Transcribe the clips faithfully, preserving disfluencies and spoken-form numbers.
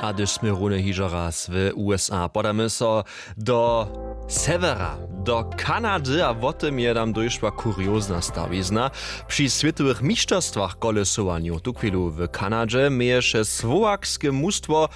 A hdyž smy runje hižo raz w usa, podamy so do sewjera, do kanady, a wo tym je tam dóšła kuriozna stawizna. Při swětowych mišterstwach kolesowanju tuchwilu w kanadźe měješe słowakske mustwo,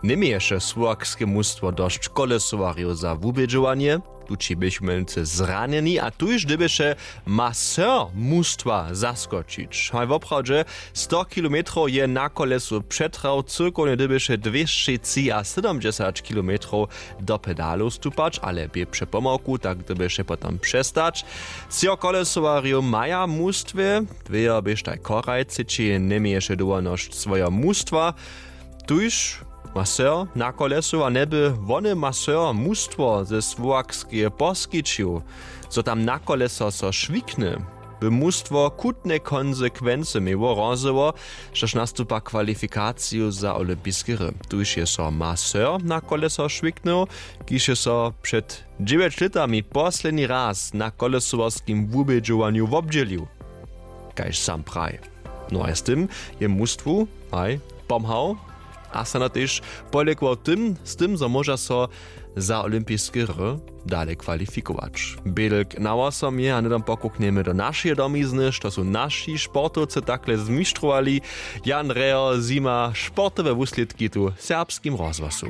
njeměješe słowakske mustwo dosć kolesowarjow za wubědźowanje. Tući běchu mjenujcy zranjeni a tuž dyrbješe maser mustwa zaskočić. Haj woprawdźe, sto kilometrow je na kolesu přetrał, cyrkownje dyrbješe dwěsće třiasydomdźesać kilometrow do pedalow stupać, ale bě přepomałku, tak dyrbješe potom přestać. Třo kolesowarjow maja w mustwje, dwejo běštaj choraj třeći njeměješe dołhonosć swojeho mustwa. Tuž maser na kolesu a njeby wone maser mustwo ze słowakskeje poskićił, zo tam na koleso so šwikny, by mustwo chutne konsekwency měło, rozjeło, štož nastupa kwalifikaciju za olympiske hry. Tuž je so maser na koleso šwiknył, kiž je so před dźewjeć lětami posledni raz na kolesowarskim wubědźowanju wobdźělił. Kaž sam praji, no a z tym je mustwu haj pomhał a snano tež polěkował tym, z tym zo móža so za olympiske hry dale kwalifikować. Bědlk na wosom je a hnydom pokuknjemy do našeje domizny, što su naši sportowcy takle zmištrowali. Jan Reho, zima, sportowe wuslědki tu w serbskim rozhłosu.